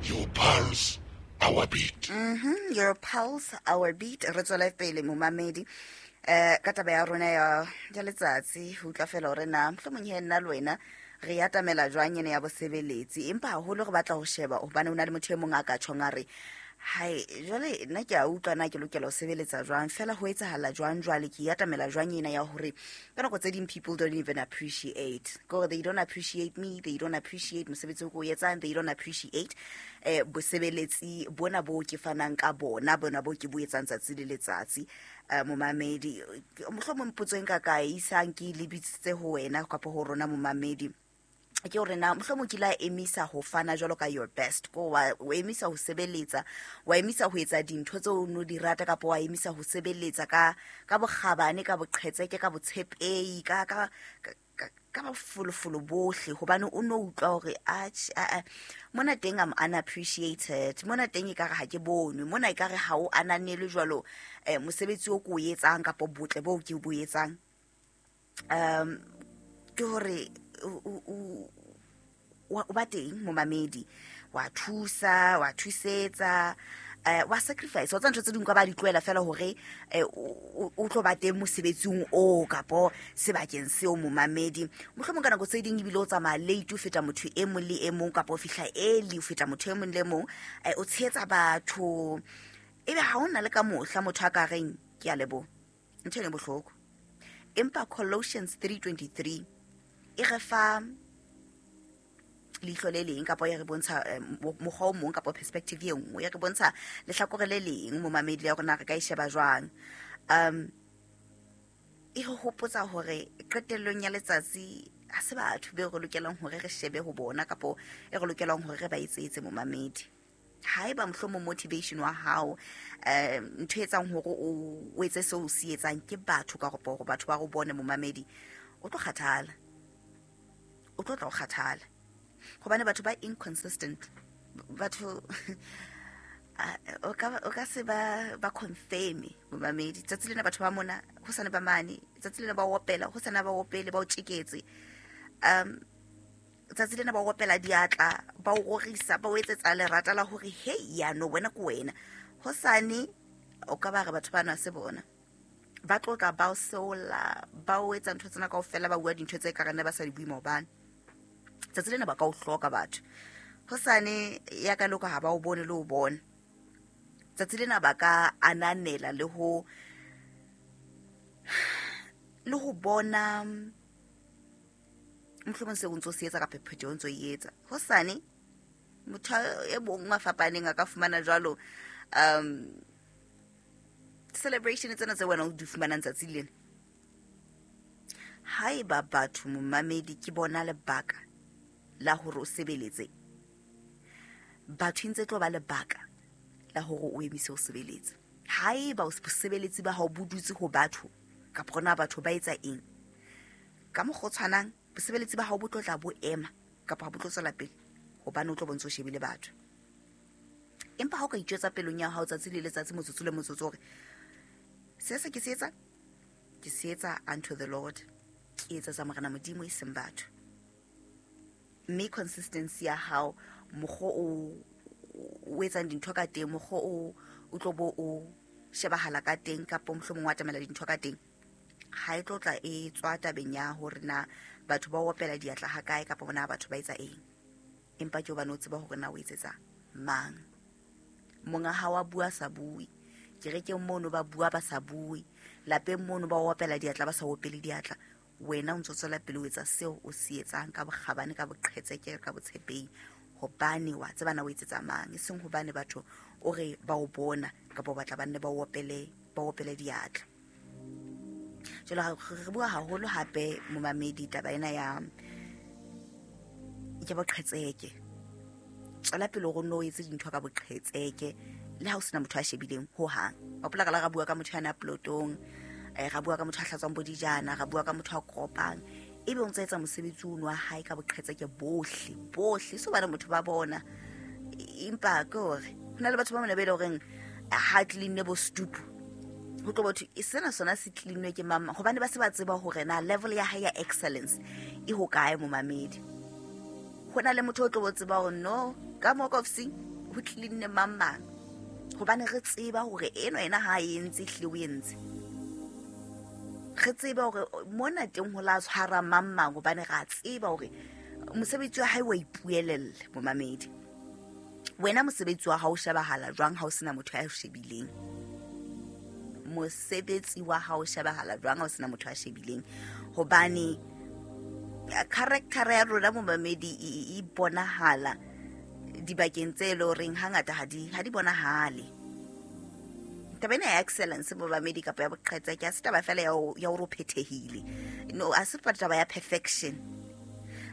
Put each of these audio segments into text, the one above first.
Your pulse, our beat. Your pulse, our beat. Re tswele pele, momamedi, ka taba ya rona ya letsatsi, ho utlwa fela hore na mohlomong he nna le wena re atamela jwang ene ya bosebeletsi. Empa haholo re batla ho sheba hobane ho na le motho e mong a ka tjhong a re, hai, jwale nna ke a utlwa na ke lokela ho sebeletsa jwang, fela ho etsahala jwang jwale, ke atamela jwang ena ya hore ka nako tse ding people don't even appreciate. Ke hore they don't appreciate me, they don't appreciate mosebetsi o ke o etsang, they don't appreciate bosebeletsi bona bo ke fanang ka bona, bona bo ke bo etsang tsatsi le letsatsi. Momamedi, mohlomong potso e nka ka e isang ke e lebisitse ho wena kapa ho rona, momamedi, ke hore na mohlomong ke la emisa ho fana jwalo ka your best, ko wa o emisa ho sebeletsa, wa emisa ho etsa dintho tseo o no di rata, kapa wa emisa ho sebeletsa ka bokgabane, ka boqhetseke, ka botshepehi, ka bofolofolo bohle, hobane o no utlwa hore atjhe, a mona teng I'm unappreciated, mona teng ekare ha ke bonwe, mona ekare ha o ananelwe jwalo mosebetsi o ko o etsang kapa botle boo ke bo etsang. Ke hore o ba teng, momamedi, wa thusa, wa thusetsa, wa sacrifice, wa tsa ntho tse ding ka ba di tlohela fela hore o tlo ba teng mosebetsing o kapo sebakeng seo, momamedi. Mohlomong ka nako tse ding ebile o tsamaya late ho feta motho e mong le e mong, kapa o fihla early ho feta motho e mong le e mong, o tshehetsa batho, ebe ha hona le ka mohla motho a ka reng ke a leboha. Ntho ena e bohloko. Empa Colossians 3:23 e re fa leihlo le leng, kapa e re bontsha mokgwa o mong kapa perspective e nngwe, e re bontsha lehlakore le leng, momamedi, ya rona re ka e sheba jwang. E re hopotsa hore qetellong ya letsatsi ha se batho be re lokelang hore re shebe ho bona, kapa e re lokelang hore re ba etsetse, momamedi. Haeba mohlomong motivation wa hao, ntho e etsang hore o etse seo o se etsang ke batho, ka hore batho ba go bone, momamedi, o tlo kgathala, o tlo tla o kgathala, hobane batho ba inconsistent. Batho o ka se ba confirm, momamedi. Tsatsi lena batho ba mona, ho sane ba mane, tsatsi lena ba opela, ho sana ba opele, ba o tjeketse, tsatsi lena ba opela diatla, ba o rorisa, ba o etsetsa lerata la hore hei, yano wena ke wena, hosane o ka ba re batho bana se bona ba tlotla, ba o seola, ba o etsa ntho tsena kaofela, ba bua dintho tse ka rene ba sa di bue maobane. Tsatsi lena ba ka o hloka batho, hosane ya ka loka ha ba o bone le o bona. Tsatsi lena ba ka ananela le ho bona mohlomong seo o ntso se etsa kapa phetho o ntso e etsa, hosane motho e mong a fapaneng a ka fumana jwalo celebration tsena tse wena o di fumanang tsatsi lena. Haeba batho, momamedi, ke bona lebaka la hore o sebeletse batho, e ntse tlo ba lebaka la hore o emise ho sebeletsa. Haeba bosebeletsi ba hao bo dutse ho batho, kapa hona batho ba etsa eng, ka mokgwa o tshwanang bosebeletsi ba hao bo tlo tla bo ema kapa ha bo tlo tswela pele, hobane o tlo bontse o shebile batho. Empa ha o ka itjwetsa pelong ya hao tsatsi le letsatsi, motsotso le motsotso, hore se ke se etsa, ke se etsa unto the Lord, ke etsetsa Morena Modimo e seng batho, mme consistency ya hao, mokgwa o etsang dintho ka teng, mokgwa o tlo bo o shebahala ka teng, kapa mohlomong o atamela dintho ka teng, ha e tlo tla e tswa tabeng ya hore na batho ba opela diatla ha kae, kapa bona batho ba etsa eng, empa ke hobane o tseba hore na o etsetsa mang. Monga hao a bua sa bue, kerekeng mono ba bua ba sa bue, lapeng mono ba opela diatla ba sa opele diatla, wena o ntso tswela pele o etsa seo o se etsang ka bokgabane, ka boqhetseke, ka botshepehi, hobane wa tseba na o etsetsa mang, e seng hobane batho o re ba o bona kapa o batla ba nne ba opele diatla. Jwale re bua haholo hape, momamedi, taba ena ya boqhetseke. Tswela pele hore o nno o etse dintho ka boqhetseke le ha o sena motho a shebileng ho hang. Hopola ka la ra bua ka motho yana plotong, ra bua ka motho a hlatswang bo dijana, ra bua ka motho a kopang, ebe o ntse etsa mosebetsi ono wa hae ka boqhetseke bohle bohle, se hobane motho ba bona. Empa ke hore ho na le batho ba mona be e le horeng ha cleanne bo stupu, ho tlo botho sena sona se cleanwe ke mama, hobane ba se ba tseba hore na level ya hae ya excellence e hokae, momamedi. Ho na le motho o tlo bo tseba hore no ka mo ka ofising Ho cleanne mang mang. Hobane re tseba hore eno ena ha e entse ehlile o entse. Re tseba hore mona teng ho la tshwara mang mang hobane re a tseba hore mosebetsi wa hae wa ipuelella momamedi. Wena mosebetsi wa hao o shebahala jwang ha o sena motho ya o shebileng? Mosebetsi wa hao o shebahala jwang ha o sena motho ya shebileng? Hobane character ya rona momamedi e bonahala dibakeng tse le horeng hangata ha di bonahale. Taba ena ya excellence momamedi kapa ya boqhetseke ha se taba fela ya hore o phethehile. No, ha se taba ya perfection.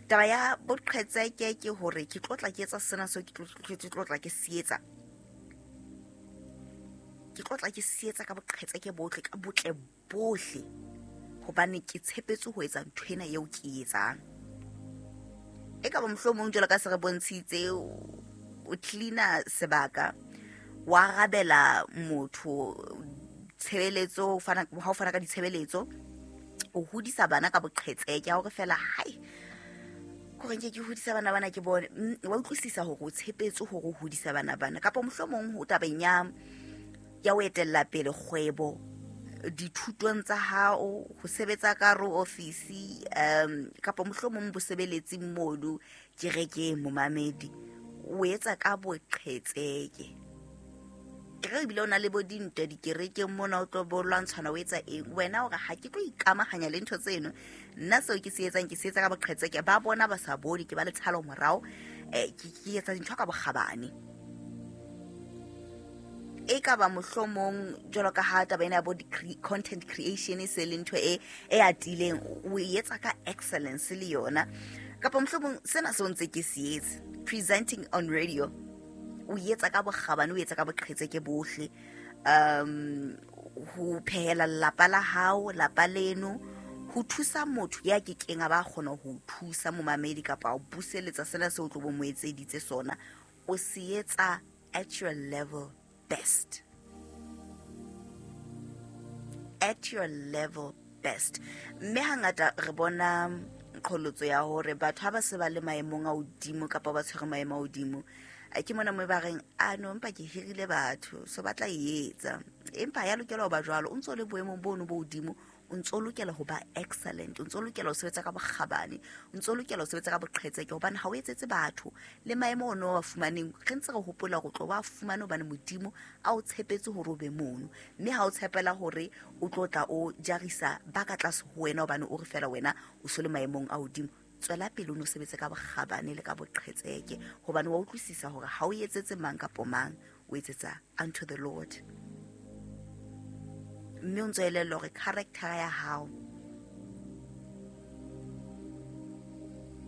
Taba ya boqhetseke ke hore ke tlo tla ke etsa sena seo ke tlo tla ke se etsa. Ke tlo tla ke se etsa ka boqhetseke bohle, ka botle bohle. Hobane ke tshepetse ho etsa ntho ena eo ke e etsang. E ka ba mohlomong jwalo ka se re bontshitse, o cleaner sebaka, wa arabela motho tshebeletso, ha o fana ka ditshebeletso, o hodisa bana ka boqhetseke, ha o re fela, hai, hore nke ke hodisa bana bana ke bone. Wa utlwisisa hore o tshepetse hore o hodisa bana bana. Kapa mohlomong ho tabeng ya ho etella pele kgwebo, dithutong tsa hao, ho sebetsa ka ro ofisi, kapa mohlomong bosebeletsing mono kerekeng momamedi, o etsa ka boqhetseke. Ke re ebile o na le bo dintwa dikerekeng mona, o tlo bo lwantshana, o etsa eng? Wena o re, ha ke tlo ikamahanya le ntho tseno. Nna seo ke se etsang, ke se etsa ka boqhetseke. Ba bona ba sa bone, ke ba le tshalo morao. Ke etsa dintho ka bokgabane. E ka ba mohlomong jwalo ka ha taba ena ya bo content creation e se le ntho e atileng, o e etsa ka excellence le yona. Kapa mohlomong sena seo ntse ke se etse, presenting on radio, o etsa ka bokgabane, o etsa ka boqhetseke bohle. Ho phehela lelapa la hao, lapa leno, ho thusa motho ya kekeng a ba kgona ho thusa momamedi kapa ho buseletsa sena seo o tlo bo mo etseditse sona, o se etsa at your level best. At your level best. Mme hangata re bona qholotso ya hore batho ha ba se ba le maemong a hodimo kapa ba tshwere maemo a hodimo, ke mona mo ba reng, a no, empa ke hirile batho, so ba tla e etsa. Empa ya lokela ho ba jwalo, o ntso le boemong bono bo hodimo, o ntso lokela ho ba excellent, o ntso lokela ho sebetsa ka bokgabane, o ntso lokela ho sebetsa ka boqhetseke, hobane ha o etsetse batho le maemo ono wa fumaneng. Re ntse re hopola hore o tlo ba fumane hobane Modimo a o tshepetse hore o be mono, mme ha o tshepela hore o tlo tla o jarisa ba ka tlase ho wena hobane o re fela wena o so le maemong a hodimo. Tswela pele o no sebetse ka bokgabane le ka boqhetseke, hobane wa utlwisisa hore ha o etsetse mang kapo mang, o etsetsa unto the Lord. Mme o ntso elellwa hore character ya hao,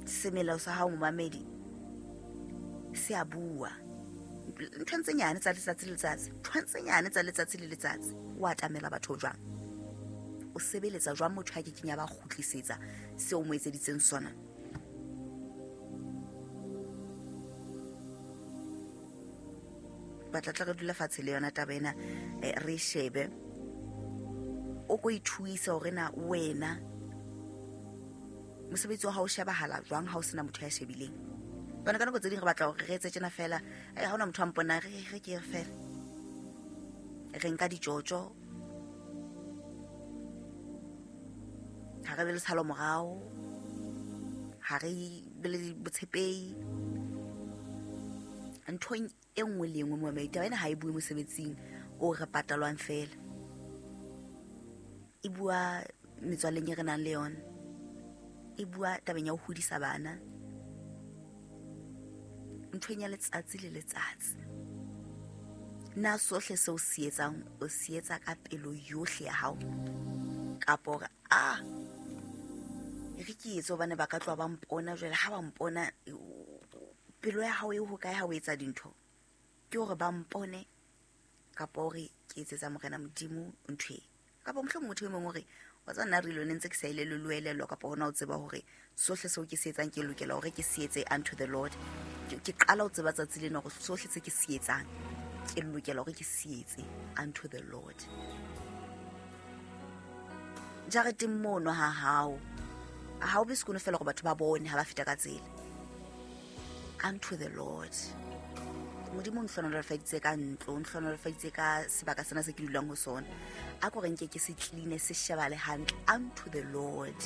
semelo sa hao momamedi, se a bua. Ntho tse nyane tsa letsatsi le letsatsi, ntho tse nyane tsa letsatsi le letsatsi, o atamela batho jwang? O sebeletsa jwang motho a kekeng ya ba kgutlisetsa seo o mo etseditseng sona? Batla tla re dula fatshe le yona taba ena, re shebe. O ko ithuisa hore na wena mosebetsi wa hao o shebahala jwang ha o sena motho ya shebileng. Bana ka nako tse ding re batla hore re etse tjena fela, ha hona motho a mponang, re ke re fela. Re nka ditjotjo, ha re be le tshalo morao, ha re be le botshepehi. Nthong e nngwe le e nngwe momamedi, taba ena ha e bue mosebetsing o re patalwang fela, e bua metswalleng e re nang le yona, e bua tabeng ya ho hodisa bana, nthong ya letsatsi le letsatsi. Na sohle seo se etsang, o se etsa ka pelo yohle ya hao, kapa hore, a re ke etse hobane ba ka tloha ba mpona jwale, ha ba mpona pelo ya hao e hokae ha o etsa dintho? Ke hore ba mpone kapa hore ke etsetsa Morena Modimo ntho e? Kapa mohlomong motho e mong o re, wa tseba nna re ile ntse ke sa ile le loelelwa, kapa hona o tseba hore sohle seo ke se etsang ke lokela hore ke se etse unto the Lord. Ke qala ho tseba tsatsi lena hore sohle se ke se etsang ke lokela hore ke se etse unto the Lord. Jareteng mono ha hao, ha o be sekono fela hore batho ba bone ha ba feta ka tsela. Unto the Lord. Modimo o ntlhonolofaditse ka ntlo, o ntlhonolofaditse ka sebaka sena se ke dulang ho sona, a ko re nke ke se cleane, se shebale hantle unto the Lord.